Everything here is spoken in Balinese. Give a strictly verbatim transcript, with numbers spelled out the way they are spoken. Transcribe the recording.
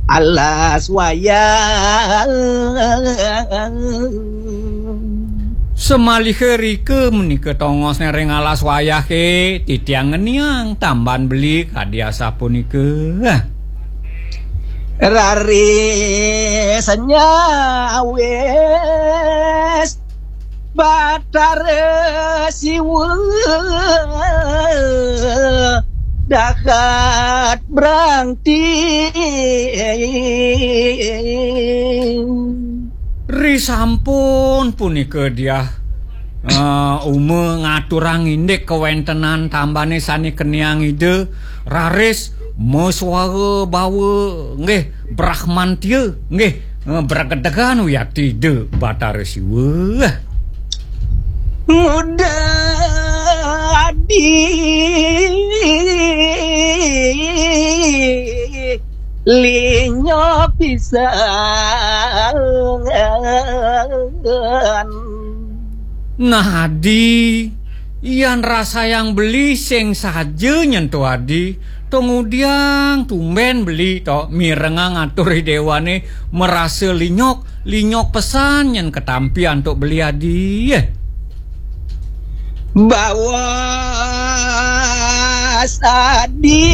alas wayah. Semaliha rika menika tongosne ring alas wayahe, titiang ngeniang tamban beli kadi asapunika. Raris nyawis Batara Siwa dahat brangti. Risampun punika diah eh, Uma ngaturang indik kawentenan tambane sane keniang Ida, raris masuara bawa nggih brahmantia nggih eh, bragedegan wiakti Ida Batara Siwa. Muda adi linyo pisan. Nah, Adi, yan rasayang beli sing saja nyen to Adi, to ngudiang tumben beli to mirengang atur Ida Dewane marasa linyok, linyok pesan nyen katampi antuk beli Adi. Bawa sadi